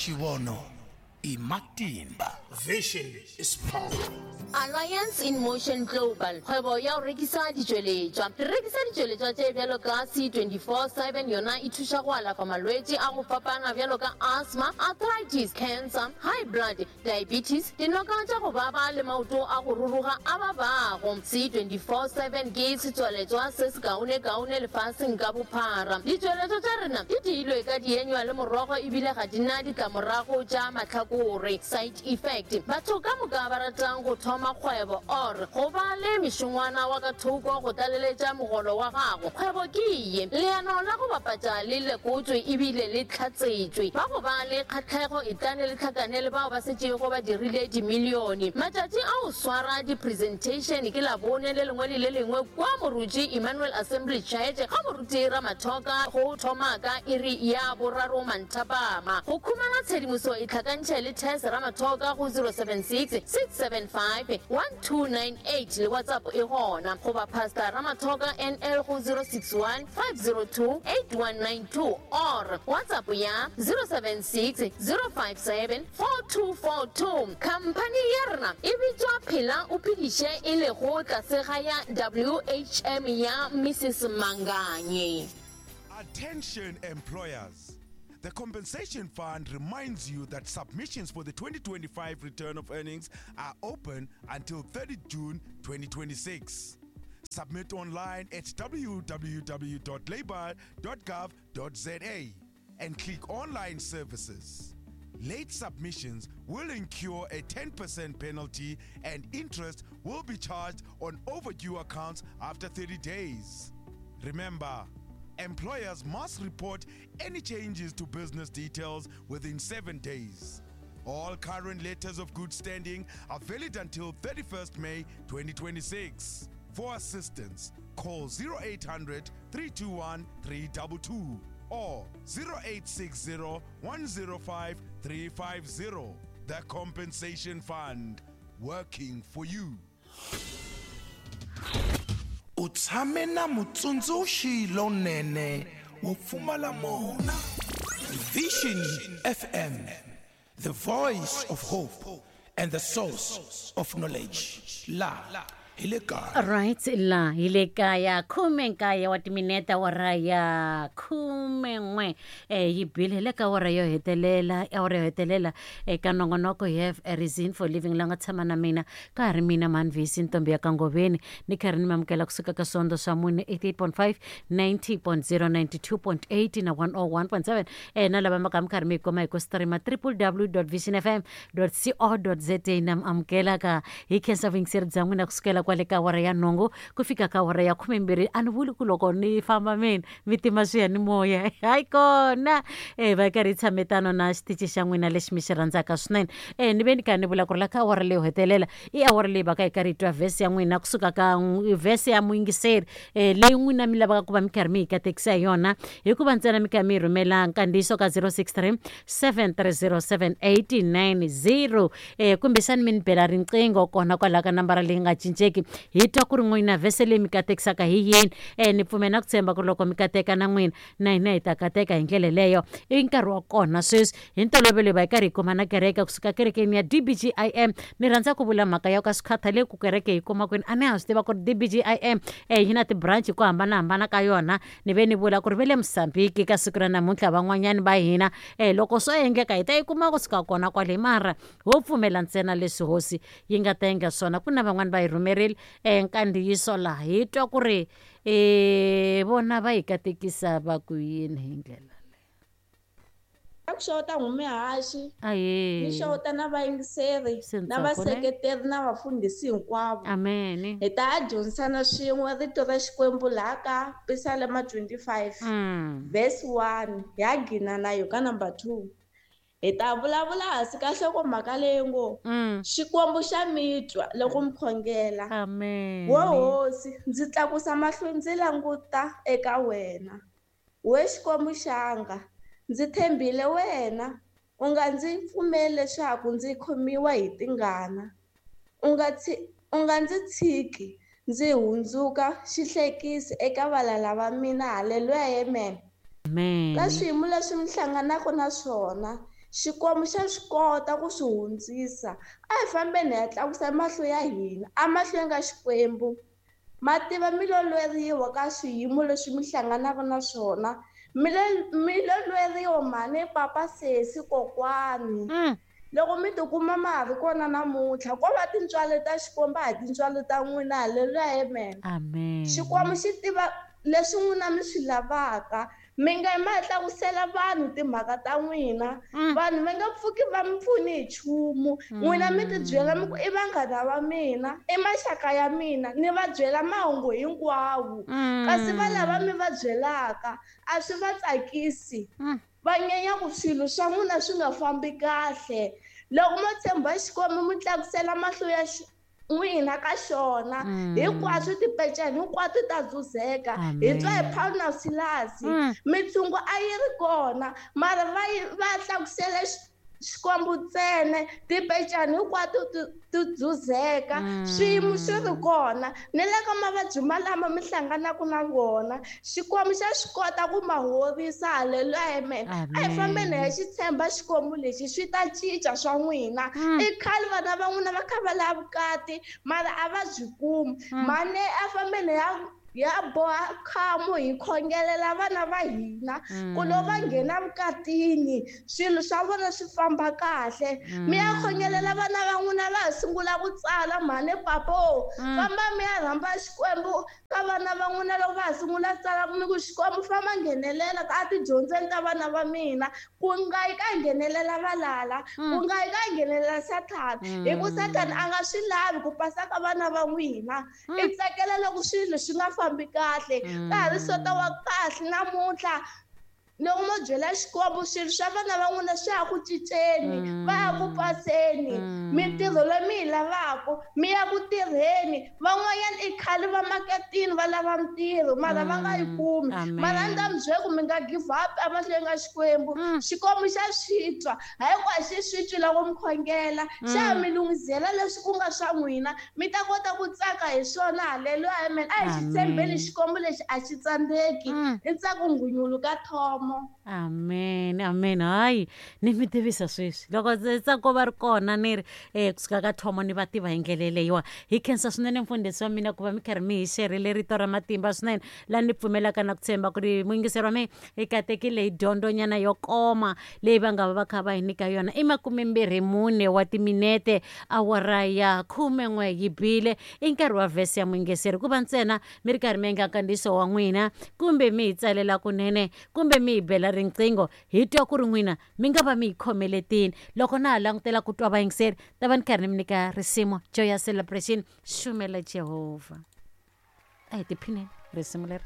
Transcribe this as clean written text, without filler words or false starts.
Xivono i matimba. Vision is power. Alliance in Motion Global, kgwebo ya go rekisa ditšweletšwa. Re rekisa ditšweletšwa tše bjalo ka C24 7, yona e thuša go alafa malwetši a go fapana bjalo ka asthma, arthritis, cancer, high blood, diabetes, dinoka tša go baba le maoto a go ruruga a babago. C24 7 ke setswaletšwa se sekaonekaone lefaseng ka bophara. Ditšweletšwa tša rena di diilwe ka dienywa le morogo ebile ga di na ditlamorago tša mahlakore, side effect. Batho ka moka ba ratang go thoma kgwebo or go ba le mešongwana wa ka thoko go tlaleletša mogolo wa gago, kgwebo ke ye. Leano la go bapatša le lekotšwe ebile le hlatsetšwe. Ba go ba le kgahlego etlane le hlakane le bao ba setšego ba dirile dimilione. Matšatši a go swara di-presentation ke Labone le lengwe le le lengwe kua Moruti Emmanuel Assembly Church ga Moruti Ramathoka go thoma ka iri ya boraro manthapama. Go khumana tshedimoso itlhakantšhe le Tess Ramathoka go 076 675 1298 le WhatsApp e gona, goba Pastor Ramathoka NL go 061 502 8192 or WhatsApp ya 076 057 4242. Khamphani ya rena e bitšwa Phela o Phediše e lego tlase ga ya WHM ya Mrs Manganye. Attention employers. The Compensation Fund reminds you that submissions for the 2025 return of earnings are open until 30 June 2026. Submit online at www.labour.gov.za and click Online Services. Late submissions will incur a 10% penalty and interest will be charged on overdue accounts after 30 days. Remember, employers must report any changes to business details within 7 days. All current letters of good standing are valid until 31st May 2026. For assistance, call 0800 321 322 or 0860 105 350. The Compensation Fund, working for you. U tshame na mutsundzuxi lonene wo pfumala mona. Vision FM, the voice of hope and the source of knowledge. La hi le kaya. Right la hi le kaya 19 wa timinete awara ya 11 yi bile hi le ka awara yo hetelela awara yo hetelela eka nongonoko you have a reason for living la nga tshama na mina ka ha ri mina Manvisi ntombi ya ka Ngoveni ni karhi ni mi amukela kusuka ka swondzo swa mune 88.5 90.0 92.8 na 101.7 na lava ma ka mi karhi mi yi kuma hi ku streama www.visionfm co.za na mi amukela ka hi khensa vuyingiseri bya n'wina kusukela kwale ka awara ya nhungu ku fika ka awara ya khumembirhi a ni vuli ku loko ni famba mina mi tima swiyanimoya hayi kona e va karhi hi tshame tano na xitichi xa n'wina lexi mi xi rhandzaka swinene e ni ve ni karhi ni vula ku ri la ka awara leyo hetelela i awara leyi va ka hi karhi hi twa vhesi ya n'wina kusuka ka vhesi ya muyingiseri e leyi n'wina mi lavaka ku va mi karhi mi yi katekisa hi yona hikuva ntsena mi karhi mi yi rhumela nkandziyiso ka 063 730 7890 e kumbexani mi ni bela riqingho kona kwalaho ka nambara leyi nga cinceki hi twa ku ri n'wina vhese leyi mi katekisaka hi yini e ni pfumela na ku tshemba ku ri loko mi kateka na n'wina na hina hi ta kateka hi ndlela leyo i nkarhi wa kona sweswi hi ntolovelo hi va hi karhi hi kuma na kereke kusuka kerekeni ya DBGIM ni rhandza ku vula mhaka ya ka swi khathaleki ku kereke yi kuma kwini a ni ha swi tiva ku ri DBGIM e yi na ti-branch hi ku hambanahambana ka yona ni ve ni vula ku ri ve le Mozambique ka siku ra namuntlha van'wanyani va hina e loko swo endleka hi ta yi kuma kusuka kona kwale mara ho pfumela ntsena leswi hosi yi nga ta endla swona ku na van'wani va yi rhumerile e nkandziyiso laha hi twa ku ri e vona va yi katekisa va ku yini hi ndlela A ku xeweta n'humihaxi, Ahee. ni xeweta na vayingiseri, Se na ntsako ne? vaseketeri na vafundhisi hinkwavo. Amen. Hi ta ya dyondzisana swin'we rito ra Xikwembu laha ka Pisalema 25 verse 1 hi ya gina na yo ka number 2. Hi ta vulavula hansi ka nhlokomhaka leyi ngo Xikwembu xa mi twa loko mi khongela. Amen. Wo Hosi, ndzi tlakusa mahlo ndzi languta eka wena. We Xikwembu xanga, ndzi tshembile wena, u nga ndzi pfumeli leswaku ndzi khomiwa hi tingana. U nga u nga ndzi tshiki ndzi hundzuka xihlekisi eka valala va mina. Haleluya, amen. Amen. Ka swiyimo leswi mi hlanganaka na swona, Xikwembu xa swi kota ku swi hundzisa. A hi fambeni hi ya tlakusa mahlo ya hina emahlweni ka Xikwembu. Ma tiva mi lo lweriwa ka swiyimo leswi mi hlanganaka na swona. Mi lo mi lo lweriwa mhani, papa, sesi, kokwani. Loko mi tikuma ma ha ri kona namuntlha ko va tintswalo ta Xikwembu a hi tintswalo ta n'wina. Haleluya, amen. Amen. Xikwembu xi tiva leswi n'wina mi swi lavaka. Mi nga yi ma ya tlakusela vanhu timhaka ta n'wina. Vanhu va nga pfuki va mi pfuni hi nchumu. N'wina mi tibyela mi ku i vanghana va mina, i maxaka ya mina, ni va byela mahungu hinkwawo. Kasi va lava mi va byelaka a swi va tsakisi. Va nyenya ku swilo swa n'wina swi nga fambi kahle. Loko mo tshemba Xikwembu mi tlakusela mahlo ya n'wina ka xona, hinkwaswo tipeceni hinkwato ta dzuzeka. Hi twa hi Paul na Silasi, mitshungu a yi ri kona, mara va yi va tlakusele Xikwembu ntsena, tipecani hinkwato ti ti dzuzeka, swiyimo swi ri kona. Ni le ka mavabyi malama mi hlanganaka na wona, Xikwembu xa swi kota ku ma horisa. Haleluya, amen. A hi fambeni hi ya xi tshemba Xikwembu lexi, swi ta cinca swa n'wina. I khale vana va n'wina va kha va lava vukati, mara a va byi kumi. Mhani a fambeni hi ya ya boha khamu hi khongelela vana va hina ku loko va nghena vukatini swilo swa vona swi famba kahle. Mi ya khongelela vana va n'wina va ha sungula ku tsala mhani papo, famba mi ya rhamba Xikwembu ka vana va n'wina loko va ha sungula ku tsala, mi ku Xikwembu famba nghenelela ka tidyondzweni ta vana va mina, ku nga yi ka nghenelela valala, ku nga yi ka nghenelela Sathana, hi ku Sathana a nga swi lavi ku pasa ka vana va n'wina. I tsakela loko swilo swi nga fambi kahle. Ka ha ri sota wa kahle namuntlha, loko mo byela Xikwembu swilo swa vana va n'wina swi ya ku cinceni, va ya ku paseni, mintirho leyi mi yi lavaka mi ya ku tirheni. Van'wanyana i khale va maketini va lava mintirho mara va nga yi kumi, mara a ni ta mi byela ku mi nga give up emahlweni ka Xikwembu. Xikwembu xa swi twa, hayi ku a xi swi twi loko mi khongela, xa ha mi lunghisela leswi ku nga swa n'wina, mi ta kota ku tsaka hi swona. Haleluya, amen. A hi xi tshembeni Xikwembu lexi, a xi tsandzeki. I ntsako nghunyulu ka thomo. Amen, amen. Hayi, ni mi tivisa sweswi loko ntsako va ri kona, ni ri kusuka ka thomo ni va tiva hi ndlela leyiwa. Hi khensa swinene mfundhisi wa mina ku va mi karhi mi hi xerile rito ra matimba swinene, laha ni pfumelaka na ku tshemba ku ri muyingiseri wa mina hi katekile hi dyondzonyana yo koma leyi va nga va va kha va hi nyika yona. I 24 wa timinete awara ya 11 yi bile, i nkarhi wa vhesi ya muyingiseri. Ku va ntsena mi ri karhi mi endla nkandziyiso wa n'wina, kumbe mi hi tsalela kunene, kumbe mi hi bela riqingho, hi twa ku ri n'wina mi nga va mi hi khomeletini. Loko na ha langutela ku twa vayingiseri, ta va ni karhi ni mi nyika risimu Joyous Celebration, Xumela Jehovha. A hi tiphineni risimu leri.